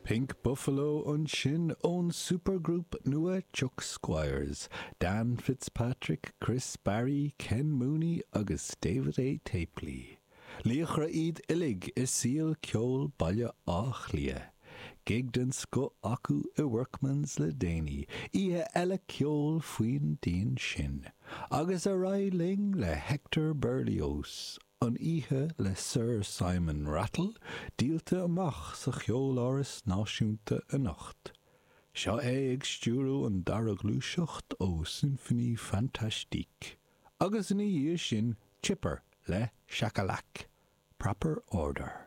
Pink Buffalo ansin ón supergroup nua Chuck Squires, Dan Fitzpatrick, Chris Barry, Ken Mooney agus David A. Tapley. Laochra iad uilig i saol ceoil Baile Átha Cliath. Gig den scoth acu i Workman's le déanaí, oíche eile ceoil faoin díon sin. Agus ar aghaidh linn le Hector Berlioz, an oíche le Sir Simon Rattle díolta amach sa Cheoláras Náisiúnta anocht. Seo é ag stiúradh an dara gluaiseacht ó Symphonie Fantastique, agus ina dhiaidh sin Chipper le Shakalak, Proper Order.